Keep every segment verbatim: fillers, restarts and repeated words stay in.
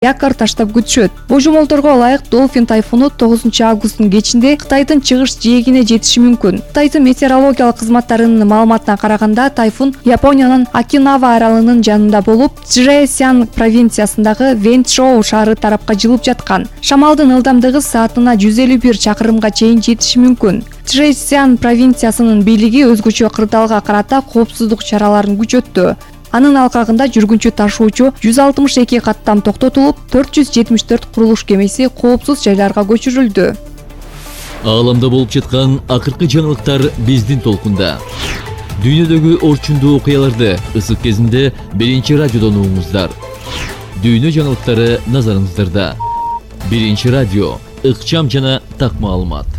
якорь таштап күтүшөт. Божомолдорго ылайык Долфин тайфуну тогузунчу августтун кечинде Кытайдын чыгыш жээгине жетиши мүмкүн. Кытайдын метеорологиялык кызматтарынын маалыматына караганда, тайфун Япониянын Окинава аралынын жанында болуп, Чжэцзян провинциясындагы Вэнчжоу шаары тарапка жылып жаткан. Шамалдын ылдамдыгы саатына жүз элүү бир чакырымга чейин жетиши мүмкүн. Чжэцзян провинциясынын бийлиги өзгөчө кырдаалга карата коопсуздук чараларын күчөттү. Анын алкагында жүргүнчү ташуучу жүз алтымыш эки каттам токтотулуп, төрт жүз жетимиш төрт курулуш кемеси коопсуз жайларга көчүрүлдү. Ааламда болуп жаткан акыркы жаңылыктар биздин толкунда. Дүйнөдөгү орчундуу окуяларды ысык кезинде биринчи радиодон угуңуздар. Дүйнө жаңылыктары назарыңыздарда. Биринчи радио, ыкчам жана так маалымат.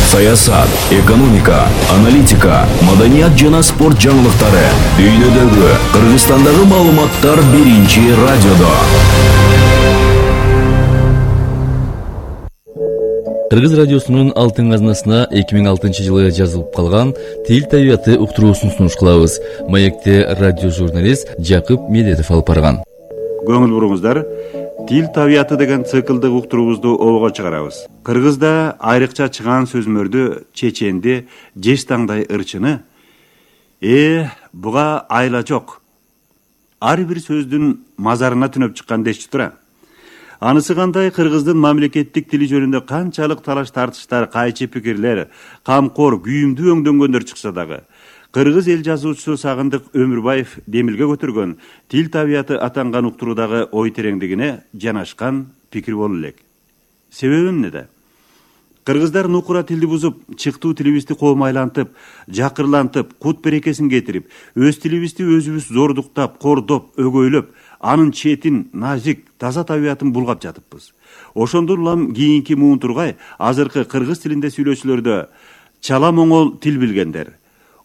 Саясат, экономика, аналитика, маданият жана спорт жаңылыктары. Дүйнөдөгү, Кыргызстандагы маалыматтар биринчи радиодо. Кыргыз радиосунун алтын казнасына эки миң алтынчы жылы жазылып калган тил табияты уктуруусун сунуш кылабыз. Маекте радио журналист Жакып Медетов алып барган. Көңүл буруңуздар. Тил табияты деген циклдык уктуруубузду обого чыгарабыз. Кыргызда айрыкча чыган сөзмөрдү, чеченди, жеш таңдай ырчыны э буга айла жок. Ар бир сөздүн мазарына түнөп чыккан дешчи тура. Анысы кандай, кыргыздын мамлекеттик тили жөнүндө канчалык талаш тартыштар, кайчы пикирлер, камкор, күйүмдүү өңдөнгөндөр чыкса дагы, Кыргыз эл жазуучусу Сагындык Өмүрбаев демилге көтөргөн тил табияты атанган уктуруудагы ой тереңдигине жанашкан пикир болуу элек. Себеби эмнеде? Кыргыздар нукура тилди бузуп, чыктуу тилибизди коомайлантып, жакырлантып, кут берекесин кетирип, өз тилибизди өзүбүз зордуктап, кордоп, өгөйлөп, анын четин, назик, таза табиятын булгап жатыппыз. Ошондон улам кийинки муун тургай азыркы кыргыз тилинде сүйлөөчүлөрдө чала моңол тил билгендер,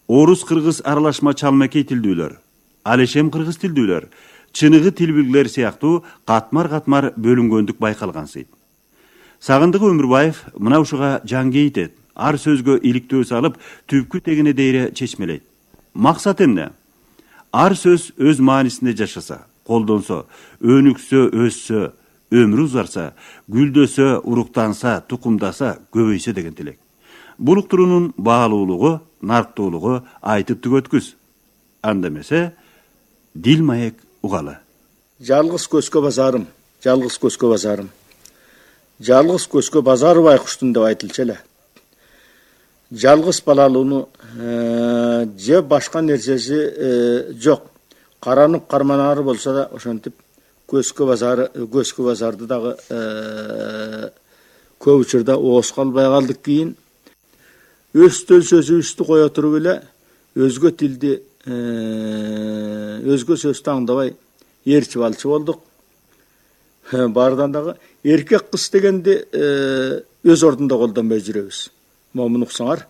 орус-кыргыз аралашма чалмекей тилдүүлөр, алешем кыргыз тилдүүлөр, чыныгы тил билгилер сыяктуу катмар-катмар бөлүнгөндүк байкалгансыйт. Сагындык Өмүрбаев мына ушуга жан кейтет, ар сөзгө иликтөө салып, түпкү тегине дейре чечмелейт. Максат эмне? Ар сөз өз маанисинде жашаса, колдонсо, өнүксө, өссө, өмүрү узарса, гүлдөсө, уруктанса, тукумдаса, көбөйсө деген тилек. Бул уктуруунун баалуулугу, нарктуулугу айтып түгөткүз. Анда эмесе, дил маек угалы. Жалгыз көзгө базарым, жалгыз көзгө базарым. Жалгыз көзгө базар байкуштун деп айтылчу эле. Жалгыз балалууну же башка нерсеси жок. Каранып карманары болсо да ошентип көзгө базары, көзгө базарды дагы көп учурда ооз калбай калдык. Кийин өз төл сөзүбүздү кое туруп эле өзгө тилди, өзгө сөздү аңдабай ээрчип алчу болдук. Баардан дагы эркек кыз дегенди өз ордунда колдонбой жүрөбүз. Момун уксаңар,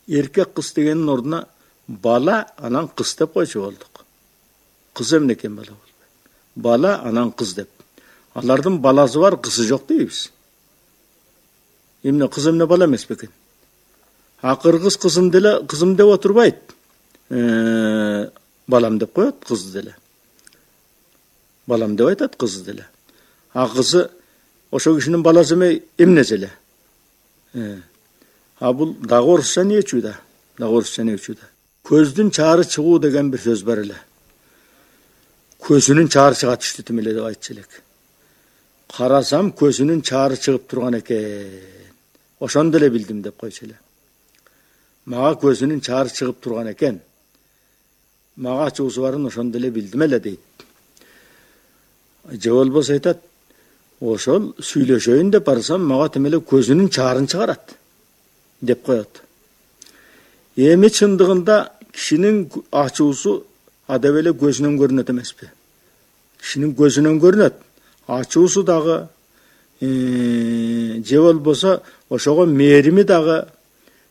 эркек кыз дегендин ордуна бала, анан кыз деп койчу болдук. Кыз эмне экен бала болбой. Бала, анан кыз деп. Алардын баласы бар, кызы жок дейбиз. Эмне кыз эмне бала эмес бекен? А кыргыз кызым деле, кызым деп отурбайт. Балам деп коет, кызды деле. Балам деп айтат, кызы деле. А кызы ошо кишинин баласы эмей, эмнеси эле. А бул дагы орусча не учууда? Дагы орусча не учууда? Көздүн чаары чыгуу деген бир сөз бар эле. Көзүнүн чаары чыга түштү тим эле деп айтчу элек. Карасам көзүнүн чаары чыгып турган экен. Ошондо эле билдим деп койчу эле. Мага көзүнүн чаары чыгып турган экен. Мага ачуусу барын ошондо эле билдим эле дейт. Же болбосо айтат, ошол сүйлөшөйүн деп барсам, мага тим эле көзүнүн чаарын чыгарат деп коет. Эми чындыгында кишинин ачуусу адеп эле көзүнөн көрүнөт эмеспи? Кишинин көзүнөн көрүнөт. Ачуусу дагы, же болбосо ошого мээрими дагы,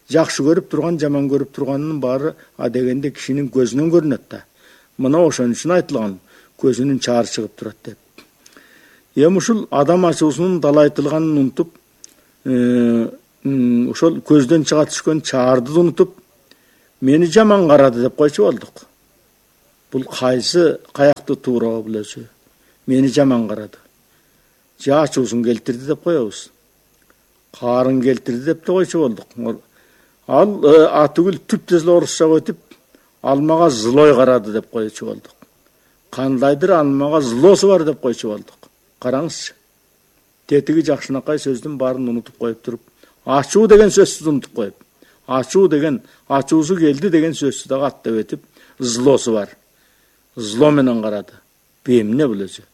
жакшы көрүп турган, жаман көрүп турганынын баары адегенде кишинин көзүнөн көрүнөт да. Мына ошон үчүн айтылган, көзүнүн чаары чыгып турат деп. Эми ушул адам ачуусунун далайтылганын унутуп, ошол көздөн чыга түшкөн чаарды унутуп, мени жаман карады деп койчу болдук. Бул кайсы каякты туура билесиз? Мени жаман карады. Же ачуусун келтирди деп коебуз. Карын келтирди деп да койчу болдук. Ал атүгүл түптүз эле орусча өтүп, ал мага злой карады деп койчу болдук. Кандайдыр ал мага злосу бар деп койчу болдук. Караңызчы. Тетиги жакшынакай сөздүн баарын унутуп коюп туруп, ачуу деген сөздү унутуп коюп, ачуу деген, ачуусу келди деген сөздү дагы аттап өтүп, злосу бар. Зло менен карады. Эмне билесиз?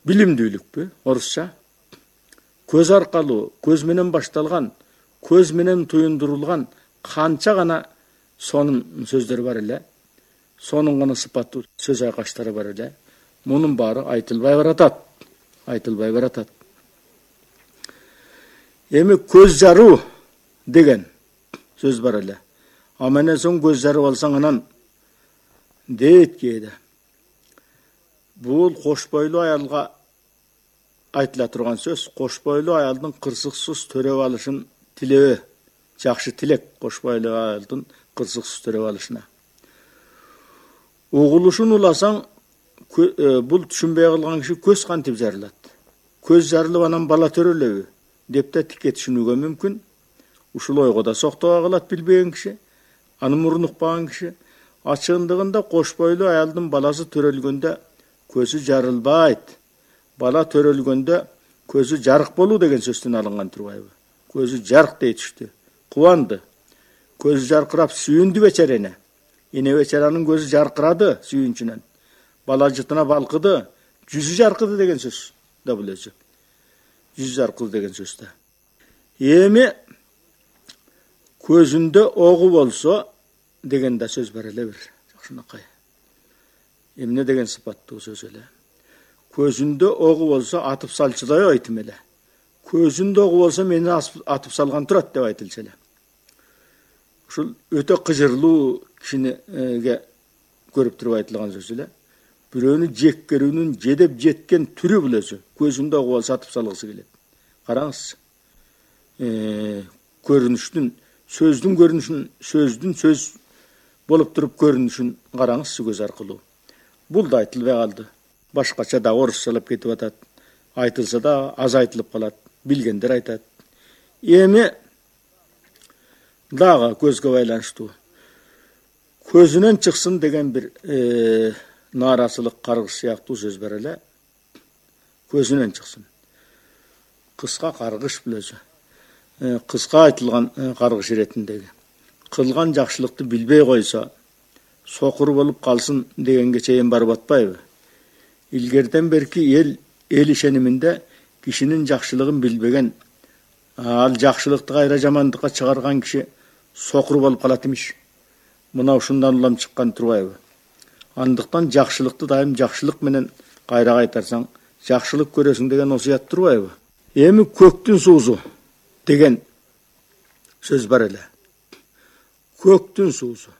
Билимдүүлүкпү? Орусча. Көз аркалуу, көз менен башталган, көз менен туюндурулган канча гана сонун сөздөр бар эле. Сонун гана сыпаттуу сөз айкаштары бар эле. Мунун баары айтылбай баратат. Айтылбай баратат. Эми көз жаруу деген сөз бар эле. Аманен соң көз жарып алсаң анан дейт кээде. Бул кош бойлуу аялга айтыла турган сөз. Кош бойлуу аялдын кырсыксыз төрөп алышын тилөө. Жакшы тилек кош бойлуу аялдын кырсыксыз төрөп алышына. Угулушун уласаң, бул түшүнбөй калган киши көз кантип жарылат? Көз жарылып анан бала төрөлөбү деп да тикке түшүнүүгө мүмкүн. Ушул ойго да соктого калат билбеген киши, аны мурун укпаган киши. Ачыгындыгында кош бойлуу аялдын баласы төрөлгөндө көзү жарылбайт. Бала төрөлгөндө көзү жарык болуу деген сөздөн алынган турбайбы? Көзү жарык дей түштү. Кубанды. Көзү жаркырап сүйүндү бечерене. Эне бечаранын көзү жаркырады сүйүнчүнөн. Бала жытына балкыды, жүзү жаркыды деген сөз да билесиз. Жүзү жаркыды деген сөз да. Эми көзүндө огу болсо деген да сөз бар эле бир. Жакшынакай. Эмне деген сыпаттуу сөз эле. Көзүндө огу болсо атып салчыдай айтым эле. Көзүндө огу болсо мени атып салган турат деп айтылчу эле. Ушул өтө кыжырлуу кишиге көрүп туруп айтылган сөз эле. Бирөөнү жеккерүүнүн жедеп жеткен түрү билесиз. Көзүндө огу болсо атып салгысы келет. Караңыз. Э, көрүнүштүн, сөздүн көрүнүшүн, сөздүн сөз болуп туруп көрүнүшүн караңызчы көз аркылуу. Бул да айтылбай калды. Башкача да орусчалап кетип атат. Айтылса да аз айтылып калат. Билгендер айтат. Эми дагы көзгө байланыштуу. Көзүнөн чыксын деген бир э, нааразылык каргыш сыяктуу сөз бар эле. Көзүнөн чыксын. Кыска каргыш билесиз. Э, кыска айтылган э, каргыш иретиндеги. Кылган жакшылыкты билбей койсо, сокур болуп калсын дегенге чейин барып атпайбы? Илгерден берки эл эл ишениминде кишинин жакшылыгын билбеген, ал жакшылыкты кайра жамандыкка чыгарган киши сокур болуп калат имиш. Мына ушундан улам чыккан турбайбы? Андыктан жакшылыкты дайым жакшылык менен кайра кайтарсаң, жакшылык көрөсүң деген осуят турбайбы? Эми көктүн суусу деген сөз бар эле. Көктүн суусу.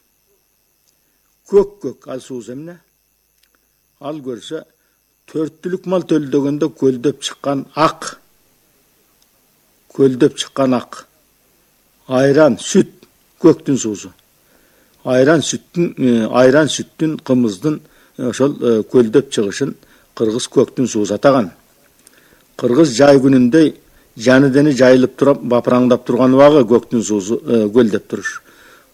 Көк көк ал сууз эмне? Ал көрсө төрттүлүк мал төлдөгөндө көлдөп чыккан ак. Көлдөп чыккан ак. Айран, сүт, көктүн суусу. Айран сүттүн, айран сүттүн, кымыздын ошол көлдөп чыгышын кыргыз көктүн суусу атаган. Кыргыз жай күнүндөй жаны дени жайылып туруп бапыраңдап турган убагы көктүн суусу көлдөп туруш.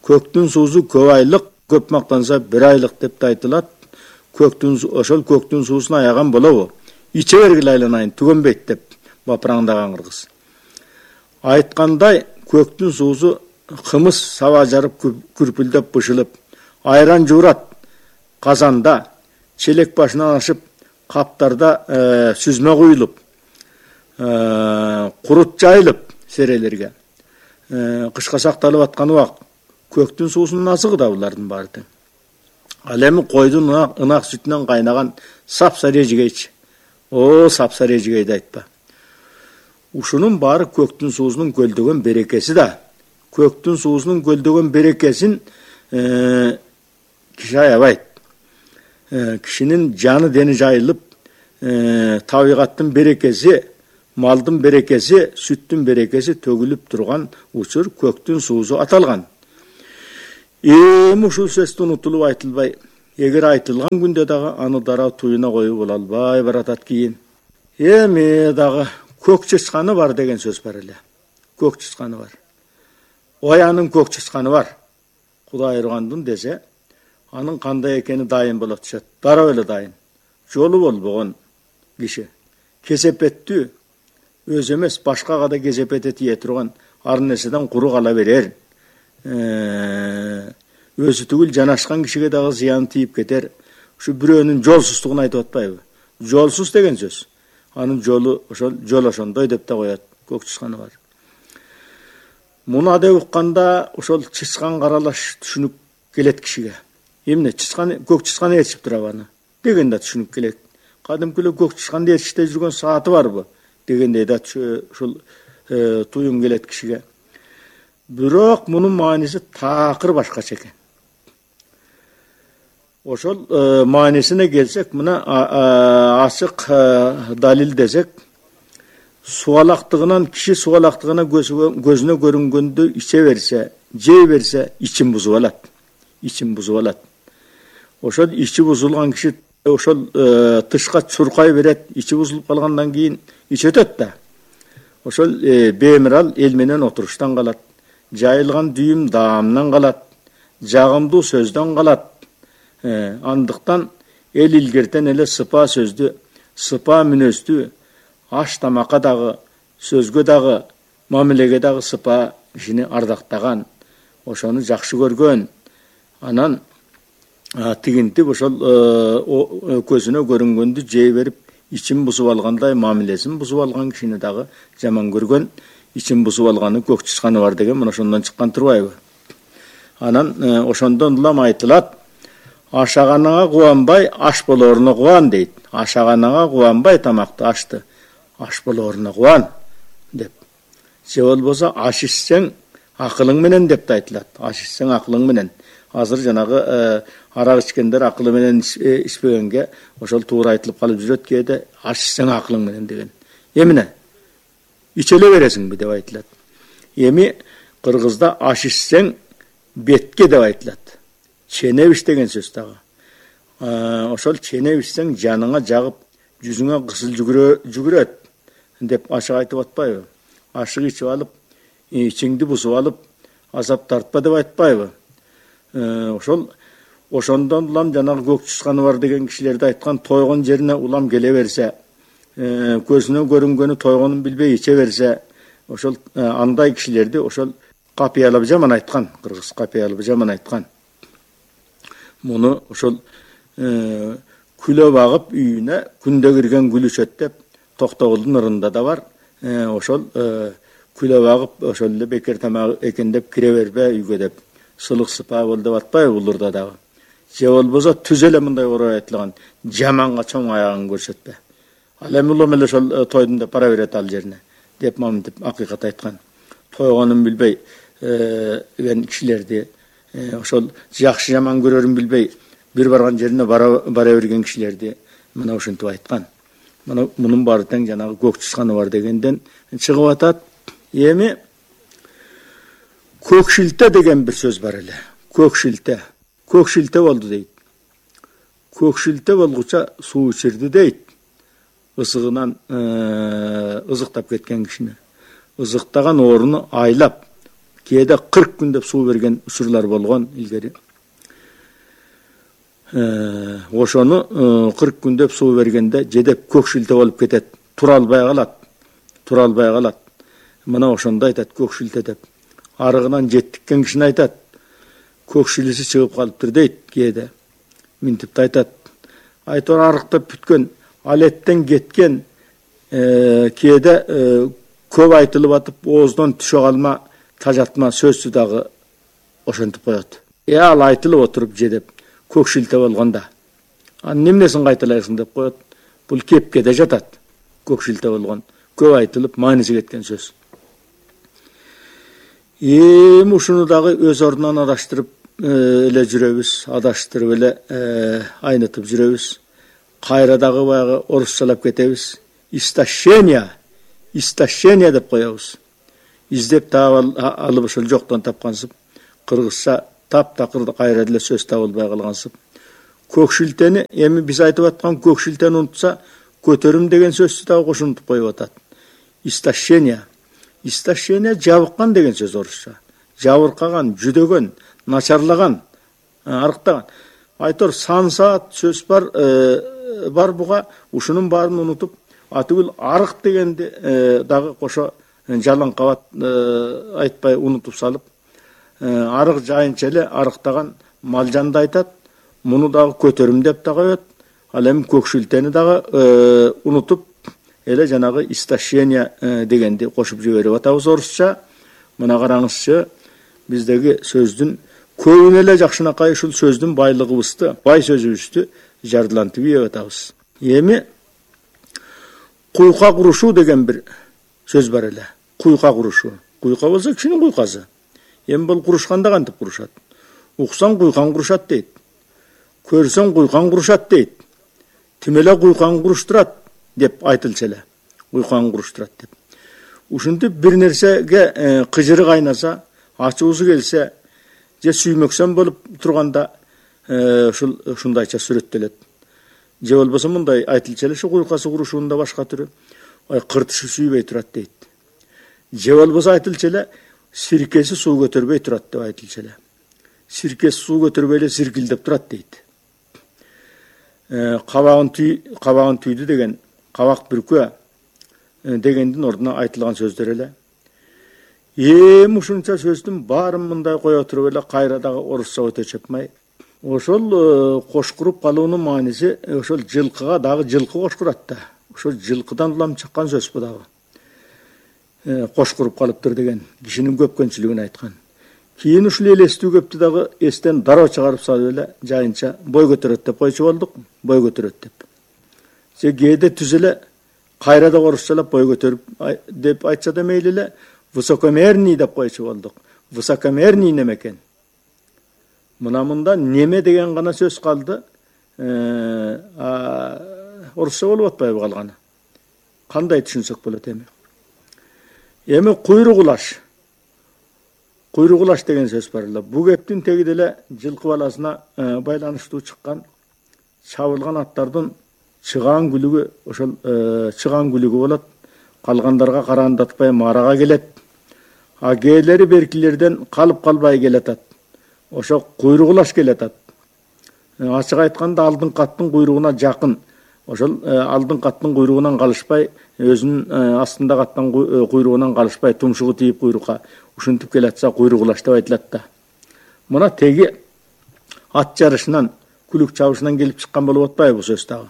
Көктүн суусу көп айлык, көп мактанса бир айлык деп да айтылат. Көктүн ошол көктүн суусун аяган болобу? Иче бергиле айланайын, түгөнбөйт деп бапыраңдаган кыргыз. Айткандай, көктүн суусу кымыз саба жарып күрпүлдөп бышылып, айран жуурат казанда, челек башынан ашып, каптарда э, сүзмө куюлуп, э, курут жайылып серелерге. Э, кышка сакталып аткан убак көктүн суусунун азыгы да булардын баары тең. Ал эми койдун ынак сүтүнөн кайнаган сапсары эжигейчи. О, сапсары эжигейди айтпа. Ушунун баары көктүн суусунун көлдөгөн берекеси да. Көктүн суусунун көлдөгөн берекесин э, киши аябайт. Э, кишинин жаны дени жайылып, э, табигаттын берекеси, малдын берекеси, сүттүн берекеси төгүлүп турган учур көктүн суусу аталган. эми ушул сөздү унутулуп айтылбай, эгер айтылган күндө дагы аны дароо туюна коюп боло албай баратат кийин. Эми дагы көк чычканы бар деген сөз бар эле. Көк чычканы бар. Оянын көк чычканы бар. Кудай айыргандын десе, анын кандай экени дайын боло түшөт. Дароо эле дайын. Жолу болбогон киши, кесепеттүү, өзү эмес башкага да кесепети тие турган, ар нерседен куру кала берер. Өзү түгүл жанашкан кишиге дагы зыян тийип кетер. Ушу бирөөнүн жолсуздугун айтып атпайбы? Жолсуз деген сөз. Анын жолу ошол жол ошондой деп да коет. Көк чычканы бар. Муну деп укканда ошол чычкан каралаш түшүнүк келет кишиге. Эмне чычкан, көк чычканы ээрчип турабы аны деген да түшүнүк келет. Кадимки эле көк чычканды ээрчиште жүргөн сааты барбы дегендей да ушул туюм келет кишиге. Бирок мунун мааниси такыр башкача экен. Ошол маанисине келсек, мына ачык далил десек, суалактыгынан киши суалактыгына көзүнө көрүнгөндү иче берсе, жей берсе, ичин бузуп алат. Ичин бузуп алат. Ошол ичи бузулган киши ошол тышка чуркай берет, ичи бузулуп калгандан кийин ичетет да. Ошол бемирал эл менен отуруштан калат. Жайылган дүйүм даамдан калат. Жагымдуу сөздөн калат. Андыктан эл илгертен эле сыпа сөздү, сыпа мүнөздү, аш тамакка дагы, сөзгө дагы, мамилеге дагы сыпа кишини ардактаган, ошону жакшы көргөн. Анан тигинтип ошол көзүнө көрүнгөндү жей берип, ичин бузуп алгандай, мамилесин бузуп алган кишини дагы жаман көргөн, ичин бузуп алганы көк чычканы бар деген мына ошондон чыккан турбайбы? Анан ошондон улам айтылат, ашаганыңа кубанбай, аш болооруна кубан дейт. Ашаганыңа кубанбай тамакты, ашты, аш болооруна кубан деп. Же болбосо аш ичсең акылың менен деп да айтылат. Аш ичсең акылың менен. Азыр жанагы арак ичкендер акылы менен ичпегенге ошол туура айтылып калып жүрөт кээде, аш ичсең акылың менен деген. Эмне? Ичеле бересиңби деп айтылат. Эми кыргызда аш ичсең бетке деп айтылат. Ченебиш деген сөз дагы. Ошол ченебиш ичсең жаныңа жагып, жүзүңө кысыл жүгүрөт деп ашык айтып атпайбы? Ашык ичип алып, ичиңди бузуп алып, азап тартпа деп айтпайбы? Ошол ошондон улам жанагы көк чычканы бар деген кишилерди айткан, тойгон жерине улам келе берсе, көзүнө көрүнгөнү тойгонун билбей иче берсе, ошол андай кишилерди ошол капыялап жаман айткан, кыргыз капыялап жаман айткан. Муну ошол күлө багып үйүнө күндө кирген гүл өчөт деп Токтогулдун ырында да бар. Ошол күлө багып ошол эле бекер тамак экен деп кире бербе үйгө деп сылык сыпа бол деп атпайбы бул ырда дагы. Же болбосо түз эле мындай орой айтылган, жаманга чоң аягын көрсөтпө. Ал эми улам эле ошол тойдун деп бара берет ал жерине деп мамынтип акыйкат айткан. Тойгонун билбей ген кишилерди, ошол жакшы жаман көрөрүн билбей бир барган жерине бара берген кишилерди мына ушинтип айткан. Мына мунун баары тең жанагы көк чычканы бар дегенден чыгып атат. Эми көкшилте деген бир сөз бар эле. Көкшилте. Көкшилте болду дейт. Көкшилте болгуча суу ичирди дейт. Ысыгынан ызыктап кеткен кишини. Ызыктаган орunu айлап, кээде кырк күн деп суу берген учурлар болгон илгери. Ошону кырк күн деп суу бергенде жедеп көкшилте болуп кетет. Тура албай калат. Тура албай калат. Мына ошондо айтат көкшилте деп. Арыгынан жеттиккен кишини айтат. Көкшилиси чыгып калыптыр дейт кээде. Минтип айтат. Айтор арыктап бүткөн, алеттен кеткен, кээде көп айтылып атып, ооздон түшө калма, тажатма сөздү дагы ошентип коет. Э ал айтылып отуруп жедеп көкшилте болгонда. Анын эмнесин кайталайсың деп коет. Бул кепкеде жатат. Көкшилте болгон, көп айтылып мааниси кеткен сөз. Эми ушуну дагы өз ордунан адаштырып эле жүрөбүз, адаштырып эле айнытып жүрөбүз. Кайра дагы баягы орусчалап кетебиз. Истощение, истощение деп коебуз. Издеп таап алып ошол жоктон тапкансып, кыргызча таптакыр кайра эле сөз табылбай калгансып. Көкшилтени эми биз айтып аткан көкшилтени унутса, көтөрүм деген сөздү дагы кошумтуп коюп атат. Истощение. Истощение жабыккан деген сөз орусча. Жабыркаган, жүдөгөн, начарлаган, арыктаган. Айтор сан саат сөз бар, э, бар буга, ушунун баарын унутуп, атыгыл арык дегенди э, дагы кошо жалаң кабат э, айтпай унутуп салып, э, арык жайынча эле арыктаган малжанды айтат. Муну дагы көтөрүм деп да коет. Ал эми көкшилтени дагы э, унутуп, эле жанагы истощение э, дегенди кошуп жиберип атабыз орусча. Мына караңызчы, биздеги сөздүн көбүн эле жакшынакай ушул сөздүн байлыгыбызды, бай сөзүбүздү жардылантып ийип атабыз. Эми куйка курушуу деген бир сөз бар эле. Куйка курушуу. Куйка болсо кишинин куйкасы. Эми бул курушканда кантип курушат? Уксаң куйкаң курушат дейт. Көрсөң куйкаң курушат дейт. Тим эле куйкаң куруштурат деп айтылчу эле. Куйкаң куруштурат деп. Ушинтип бир нерсеге кыжыры кайнаса, ачуусу келсе, же сүймөксөн болуп турганда ушул ушундайча сүрөттөлөт. Же болбосо мындай айтылчу эле, ушу куйкасы курушуунда башка түрү, ой кыртышы сүйбөй турат дейт. Же болбосо айтылчу эле, сиркеси суу көтөрбөй турат деп айтылчу эле. Сиркеси суу көтөрбөй эле сиркилдеп турат дейт. Кабагын түй, кабагын түйдү деген, кабак бүркө дегендин ордуна айтылган сөздөр эле. Эми ушунча сөздүн баарын мындай кое туруп эле кайра дагы орусча өтө чапмай. Ошол кошкуруп калуунун мааниси ошол жылкыга дагы жылкы кошкурат да. Ошол жылкыдан улам чыккан сөз бу дагы. Кошкуруп калыптыр деген кишинин көпкөнчүлүгүн айткан. Кийин ушул элестүү көптү дагы эстен дароо чыгарып салып эле жайынча бой көтөрөт деп койчу болдук. Бой көтөрөт деп. Же кээде түз эле кайра да орусчалап бой көтөрүп деп айтса да мейли эле, высокомерный деп койчу болдук. Высокомерный неме экен? Мына мында неме деген гана сөз калды. Орусча болуп атпайбы калганы? Кандай түшүнсөк болот эми? Эми куйругулаш. Куйругулаш деген сөз бар эле. Бу кептин теги деле жылкы баласына байланыштуу чыккан чабылган аттардын чыгаан күлүгү, ошол чыгаан күлүгү болот. Калгандарга карандатпай марага келет. А кээлери беркилерден калып калбай келатат. Ошо куйругулаш келатат. Ачык айтканда алдыңкы аттын куйругуна жакын. Ошол алдыңкы аттын куйругунан калышпай, өзүнүн астындагы аттын куйругунан калышпай, тумшугу тийип куйрукка ушинтип келатса куйругулаш деп айтылат да. Мына теги ат жарышынан, күлүк чабышынан келип чыккан болуп атпайбы бул сөз дагы.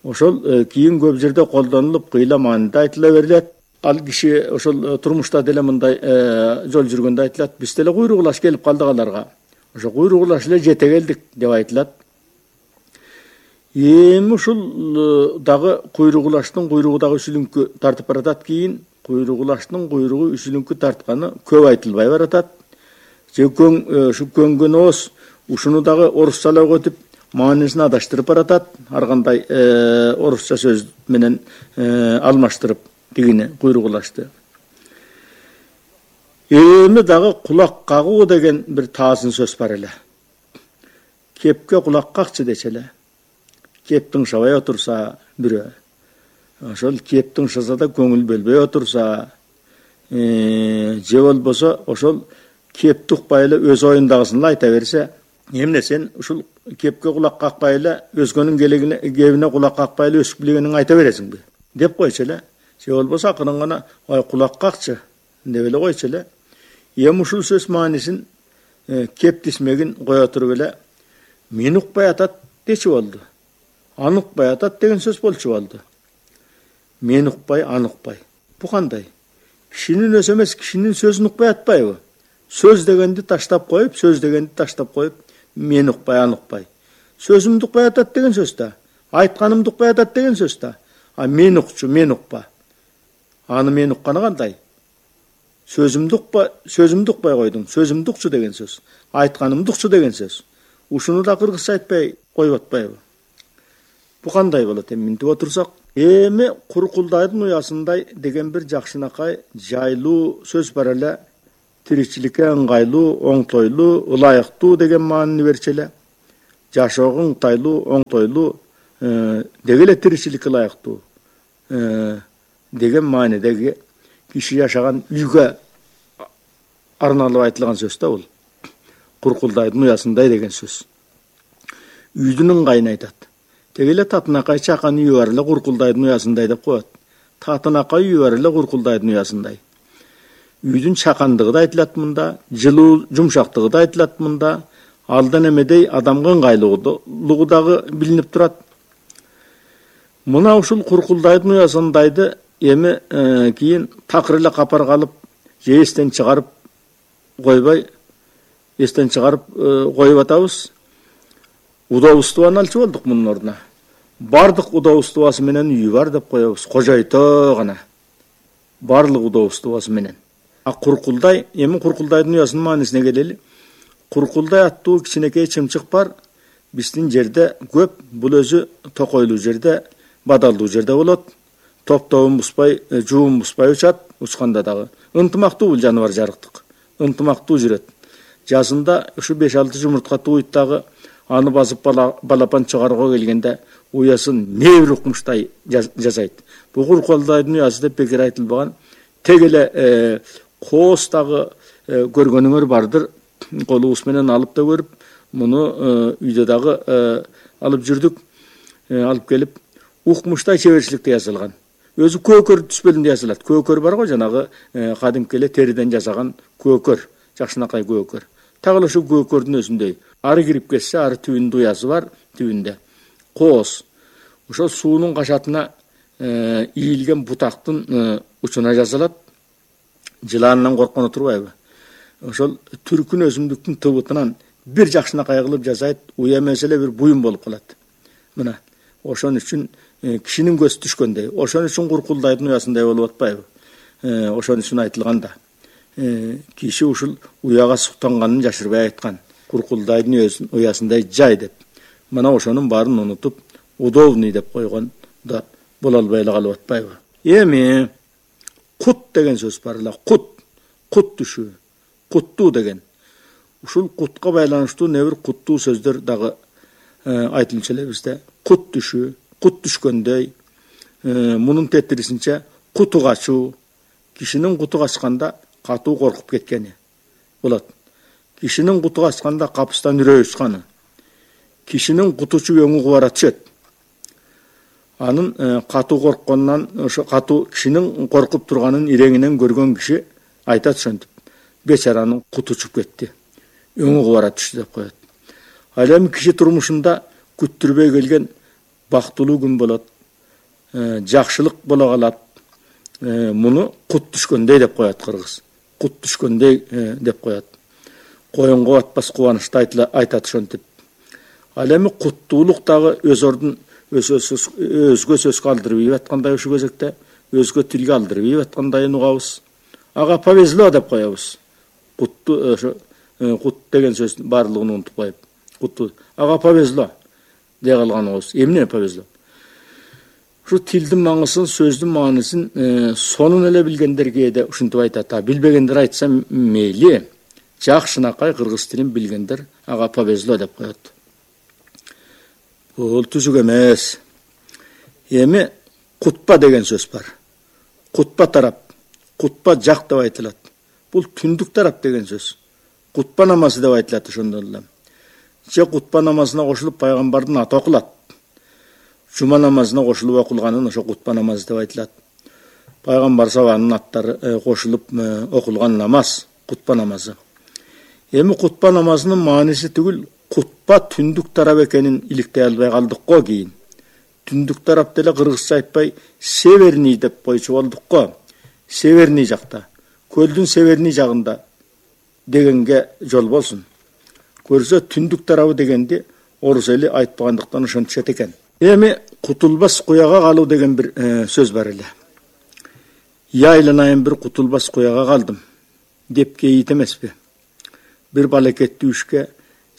Ошол кийин көп жерде колдонулуп, кыйла мааниде айтыла берилет. Ал киши ошол турмушта деле мындай жол жүргөндө айтылат, биз деле куйругулаш келип калдык аларга. Ошо куйругулаш эле жете келдик деп айтылат. Эми ушул дагы куйругулаштын куйругу дагы үсүлүнкү тартып баратат. Кийин куйругулаштын куйругу үсүлүнкү тартканы көп айтылбай баратат. Же ушу көнгөн ооз ушуну дагы орусчалап өтүп маанисин адаштырып баратат. Ар кандай орусча сөз менен алмаштырып дегени куйругулашты. Эми дагы кулак кагуу деген бир таазын сөз бар эле. Кепке кулак какчы дече эле. Кептің шабай отырса бүрі. Ошол кептің шаса да көңіл бөлбей отырса, же болбосо ошол кепти укпай эле өз оюндагысын айта берсе, эмне сен ушул кепке кулак какпай эле өзгөнүн келегине кебине кулак какпай эле өсүп билгениңди айта бересиңби деп койчу эле. Же болбосо акырын гана ой кулак какчы деп эле койчу эле. Эми ушул сөз маанисин кеп тисмегин кое туруп эле мен укпай атат дечи болду. Аны укпай атат деген сөз болчу болду. Мен укпай, аны укпай. Бу кандай? Кишинин өзү эмес, кишинин сөзүн укпай атпайбы? Сөз дегенди таштап коюп, сөз дегенди таштап коюп, мен укпай, аны укпай. Сөзүмдү укпай атат деген сөз да. Айтканымды укпай атат деген сөз да. А мен укчу, мен укпа. Аны мен укканы кандай? Сөзүмдү укпай, сөзүмдү укпай койдуң. Сөзүмдү укчу деген сөз. Айтканымды укчу деген сөз. Ушуну да кыргызча айтпай коюп атпайбы? Бу кандай болот эми мынтип отурсак? Эми Куркулдайдын уясындай деген бир жакшынакай жайлуу сөз бар эле. тиричиликке ыңгайлуу, оңтойлуу, ылайыктуу деген маанини берчү эле. Жашоого ыңгайлуу, оңтойлуу деги эле тиричиликке ылайыктуу деген маанидеги киши жашаган үйгө арналып айтылган сөз да бул. Куркулдайдын уясындай деген сөз. Үйдүн ыңгайын айтат. Теги эле татынакай чакан үйү бар эле куркулдайдын уясындай деп коет. Татынакай үйү бар эле куркулдайдын уясындай. Үйдүн чакандыгы да айтылат мында, жылуу жумшактыгы да айтылат мында, алдан эмедей адамга ыңгайлуулугу дагы билинип турат. Мына ушул куркулдайдын уясындайды эми кийин такыр эле капар калып, же эстен чыгарып койбой, эстен чыгарып коюп атабыз. Удобствону алчу болдук мунун ордуна. Бардык удобствосу менен үйү бар деп коебуз. Кожойто гана. Барлык удобствосу менен. А куркулдай, эми куркулдайдын уясынын маанисине келели. Куркулдай аттуу кичинекей чымчык бар. Биздин жерде көп, бул өзү токойлуу жерде, бадалдуу жерде болот. Топтобун буспай, жуун буспай учат, учканда дагы. Ынтымактуу бул жаныбар жарыктык. Ынтымактуу жүрөт. Жазында ушу беш алты жумуртка тууйт дагы аны басып балапан чыгарууга келгенде уясын небир укмуштай жасайт. Бул куркулдайдын уясы деп бекер айтылбаган. Тег эле кооз дагы көргөнүңөр бардыр. Колубуз менен алып да көрүп, муну үйдө дагы алып жүрдүк. Алып келип укмуштай чеберчиликте жасалган. Өзү көкөр түспөлүндө жасалат. Көкөр бар го, жанагы кадимки эле териден жасаган көкөр, жакшынакай көкөр. Тагы ошо көкөрдүн өзүндөй. Ары кирип кетсе, ары түбүндө уясы бар, түбүндө. Кооз. Ошол суунун кашатына ийилген бутактын учуна жасалат. Жыланынан корккону турбайбы? Ошол түркүн өсүмдүктүн тыбытынан бир жакшынакай кылып жасайт, уя эмес эле бир буюм болуп калат. Мына, ошон үчүн кишинин көзү түшкөндөй, ошон үчүн куркулдайдын уясындай болуп атпайбы? Ошон үчүн айтылган да. Киши ушул уяга суктанганын жашырбай айткан. Куркулдайдын уясындай жай деп. Мына ошонун баарын унутуп, удобный деп койгон да боло албай эле калып атпайбы? Эми кут деген сөз бар эле. Кут, кут түшүү, куттуу деген. Ушул кутка байланыштуу небир куттуу сөздөр дагы айтылчу эле бизде. Кут түшүү, кут түшкөндөй, мунун тетирисинче куту качуу, кишинин куту качканда катуу коркуп кеткени болот. Кишинин куту качканда капыстан үрөй учканы. Кишинин кутучу өңү кубара түшөт. Анын катуу коркконунан, ошо катуу кишинин коркуп турганын иреңинен көргөн киши айтат ошентип: бечаранын куту учуп кетти, өңү кубара түштү деп коет. Ал эми киши турмушунда күттүрбөй келген бактылуу күн болот, жакшылык боло калат. Муну кут түшкөндөй деп коет кыргыз. Кут түшкөндөй деп коет. Коюнго батпас кубанычты айтат ошентип. Ал эми куттуулук дагы өз ордун өзгө сөз калтырбай аткандай ушул кезекте, өзгө тилге алдырбай аткандайын угабыз. Ага повезло деп коебуз. Кутту ошо кут деген сөздүн баардыгын унутуп коюп, кутту. Ага повезло дей калган угабыз. Эмне повезло? Ушу тилдин маңызын, сөздүн маанисин сонун эле билгендер кээде ушинтип айтат. А билбегендер айтса мейли, жакшынакай кыргыз тилин билгендер ага повезло деп коет. Бул түзүк эмес. Эми кутпа деген сөз бар. Кутпа тарап, кутпа жак деп айтылат. Бул түндүк тарап деген сөз. Кутпа намазы деп айтылат ошондон эле. Же кутпа намазына кошулуп пайгамбардын аты окулат. Жума намазына кошулуп окулганын ошо кутпа намазы деп айтылат. Пайгамбар сабанын аттары кошулуп окулган намаз, кутпа намазы. Эми кутпа намазынын мааниси түгүл, кутпа түндүк тарап экенин иликтей албай калдык го кийин. Түндүк тарап деле кыргызча айтпай северный деп койчу болдук го. Северный жакта, көлдүн северный жагында дегенге жол болсун. Көрсө түндүк тарабы дегенди орус эли айтпагандыктан ошентишет экен. Эми кутулбас куяга калуу деген бир сөз бар эле. Я айланайын бир кутулбас куяга калдым деп кейит эмеспи? Бир балекеттүү ишке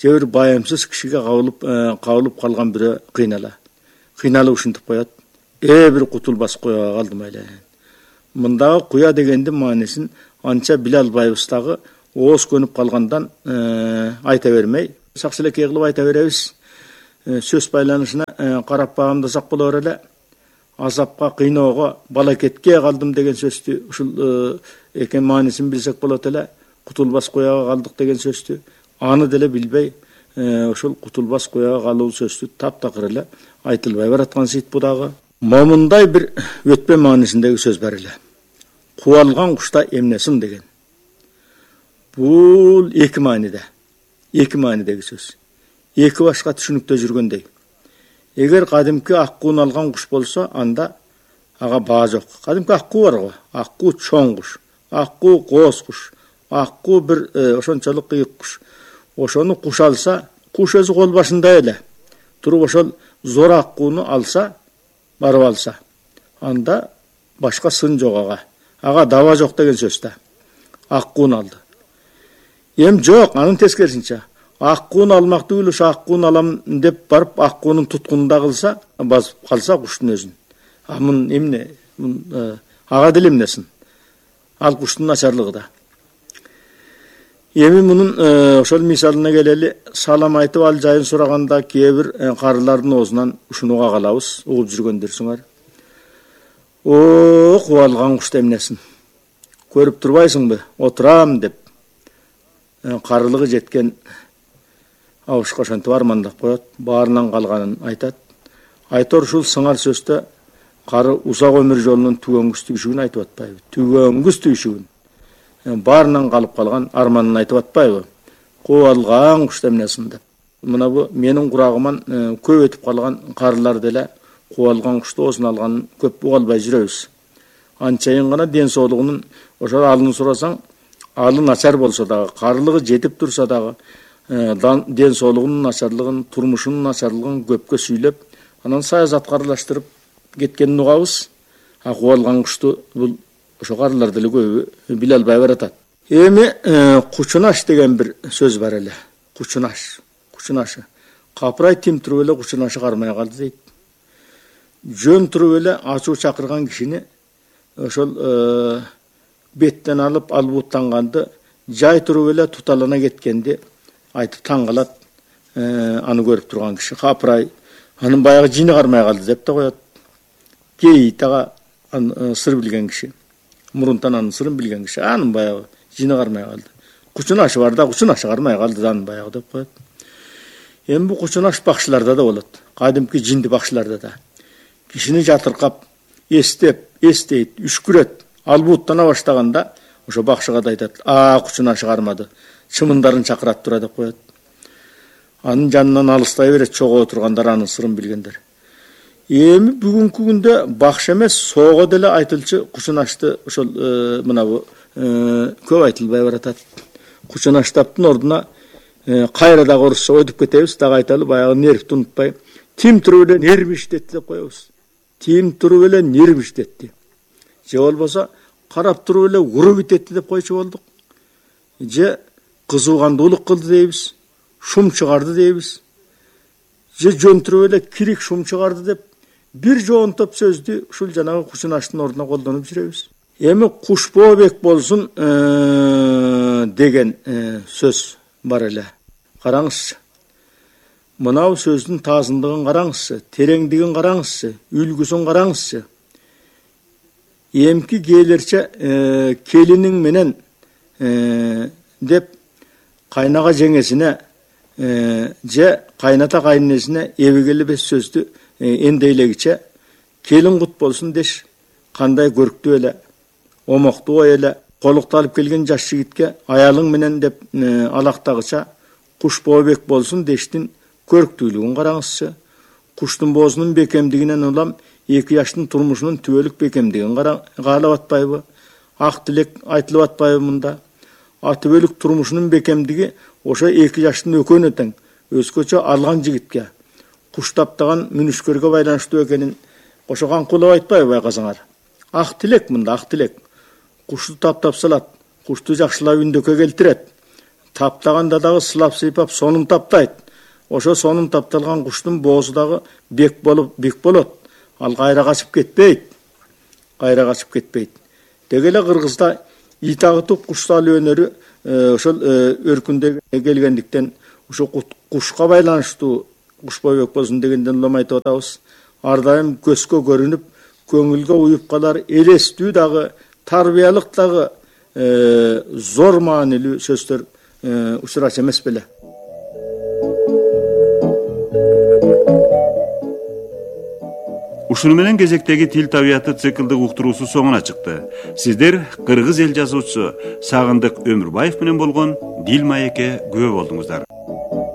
же бир байымсыз кишиге кабылып кабылып калган бирөө кыйнала. Кыйналып ушинтип коет: "Э бир кутулбас куяга калдым айланайын." Мындагы куя дегендин маанисин Анча биле албайбыз дагы, ооз көнүп калгандан айта бермей, сакчылекей кылып айта беребиз. Сөз байланышына карап багамдасак болор эле. Азапка, кыйноого, балакетке калдым деген сөздү ушул экен маанисин билсек болот эле. Кутулбас кояга калдык деген сөздү аны деле билбей, ушул кутулбас кояга калуу сөздү таптакыр эле айтылбай бараткан сыйт бу дагы. Момундай бир өтпө маанисиндеги сөз бар эле. Кубалган кушта эмнесиң деген. Бул эки мааниде. Эки маанидеги сөз. Эки башка түшүнүктө жүргөндөй. Эгер кадимки аккуун алган куш болсо, анда ага баа жок. Кадимки аккуу бар го. Аккуу чоң куш, аккуу кооз куш, аккуу бир ошончолук кыйык куш. Ошону куш алса, куш өзү кол башында эле. Туруп ошол зор аккууну алса, барып алса, анда башка сын жок ага. Ага даба жок деген сөз да. Аккууну алды. Эм жок, анын тескерисинче. Аккууну алмакты үлүш аккууну алам деп барып аккуунун туткунунда кылса, басып калса куштун өзүн. А мун эмне? Ага деле эмнесин? Ал куштун начарлыгы да. Эми мунун ошол мисалына келели, салам айтып ал жайын сураганда кээ бир карылардын оозунан ушунуга калабыз, угуп жүргөндөрсүңөр. О, кубалган кушта эмнесин? Көрүп турбайсыңбы? Отурам деп карылыгы жеткен абышка ошентип армандап коет, баарынан калганын айтат. Айтор ушул сыңар сөздө кары узак өмүр жолунун түгөнгүс түшүгүн айтып атпайбы? Түгөнгүс түшүгүн. Баарынан калып калган арманын айтып атпайбы? Кубалган кушта эмнесин деп. Мына бу менин курагыман көп өтүп калган карылар деле кубалган кушты оозуна алганын көп уга албай жүрөбүз. Анчайын гана ден соолугунун ошол алын сурасаң, алы начар болсо дагы, карылыгы жетип турса дагы, ден соолугунун начарлыгын, турмушунун начарлыгын көпкө сүйлөп, анан саясатка аралаштырып кеткенин угабыз. А кубалган кушту бул ошо карылар деле көбү биле албай баратат. Эми кучунаш деген бир сөз бар эле. Кучунаш, кучунашы. Капырай тим туруп эле кучунашы кармай калды дейт. Жөн туруп эле ачуу чакырган кишини ошол беттен алып албуттанганды, жай туруп эле туталана кеткенди айтып таң калат аны көрүп турган киши. Капырай анын баягы жини кармай калды деп да коет. Кейит ага сыр билген киши. Мурунтан анын сырын билген киши. Анын баягы жини кармай калды. Кучунашы бар да, кучунашы кармай калды анын баягы деп коет. Эми бу кучунаш бакшыларда да болот. Кадимки жинди бакшыларда да. Кишини жатыркап, эстеп, эстейт, үшкүрөт, албуттана баштаганда ошо бакшыга да айтат: "А, кучунашы кармады. Чымындарын чакырат тура" деп коет. Анын жанынан алыстай берет чогоо тургандар, анын сырын билгендер. Эми бүгүнкү күндө бакшы эмес, соого деле айтылчы кучунашты ошол мына бу көп айтылбай баратат. Кучунаштаптын ордуна кайра дагы орусча өтүп кетебиз, дагы айталы, баягы нервти унутпай. Тим туруп эле нерв иштетти деп коебуз. Тим туруп эле нерв иштетти. Же болбосо карап туруп эле уруп итетти деп койчу болдук. Же кызуугандуулук кылды дейбиз, шум чыгарды дейбиз. Же жөн туруп эле кирик шум чыгарды деп бир жоонтоп сөздү ушул жанагы кучунаштын ордуна колдонуп жүрөбүз. Эми Кушбообек болсун деген сөз бар эле. Караңызчы. Мынау сөздүн таазындыгын караңызчы, тереңдигин караңызчы, үлгүсүн караңызчы. Эмки кээлерче келиниң менен деп кайнага жеңесине же кайната кайненесине эбегелебес сөздү эндейлегиче келин кут болсун деш, кандай көрктүү эле, омоктуу эле, колукта алып келген жаш жигитке аялың менен деп алактагыча Кушбообек болсун дештин көрктүүлүгүн караңызчы. Куштун боозунун бекемдигинен улам эки жаштын турмушунун түбөлүк бекемдигин каалап атпайбы? Ак тилек айтылып атпайбы мында? А түбөлүк турмушунун бекемдиги ошо эки жаштын экөөнө тең, өзгөчө алган жигитке куш таптаган мүнүшкөргө байланыштуу экенин ошо каңкулап айтпайбы байкасаңар? Ак тилек мында, ак тилек. Кушту таптап салат, кушту жакшылап үндөккө келтирет. Таптаганда дагы сылап сыйпап сонун таптайт. Ошо сонун тапталган куштун боозу дагы бек болуп бек болот. Ал кайра качып кетпейт. Кайра качып кетпейт. Деги эле Кыргызда ит агытып куш салуу өнөрү ошол өркүндө келгендиктен ошо кушка байланыштуу куш бойбек болсун дегенден улам айтып атабыз. Ар дайым көзгө көрүнүп, көңүлгө уюп калар, элестүү дагы, тарбиялык дагы зор маанилүү сөздөр учурачу эмес беле. Ушуну менен кезектеги тил табияты циклдык уктуруусу соңуна чыкты. Сиздер кыргыз эл жазуучусу Сагындык Өмүрбаев менен болгон Дил маекке күбө болдуңуздар.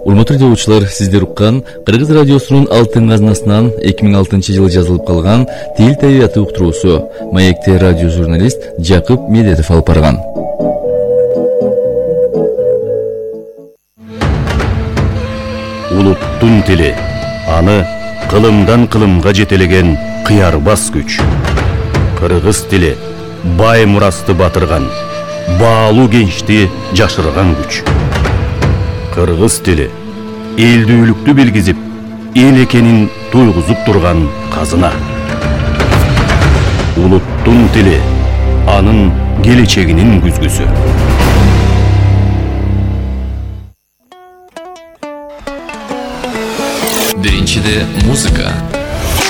Урматтуу жазуучулар, сиздер уккан Кыргыз радиосунун алтын казнасынан эки миң алтынчы жылы жазылып калган тил табияты уктуруусу маекте радио журналист Жакып Медетов алып барган. Улуттун тили, аны кылымдан кылымга жетелеген кыярбас күч. Кыргыз тили бай мурасты батырган, баалуу кенчти жашырган күч. Кыргыз тили элдүүлүктү билгизип, эл экенин туйгузуп турган казына. Улуттун тили, анын келечегинин күзгүсү. Биринчиде музыка,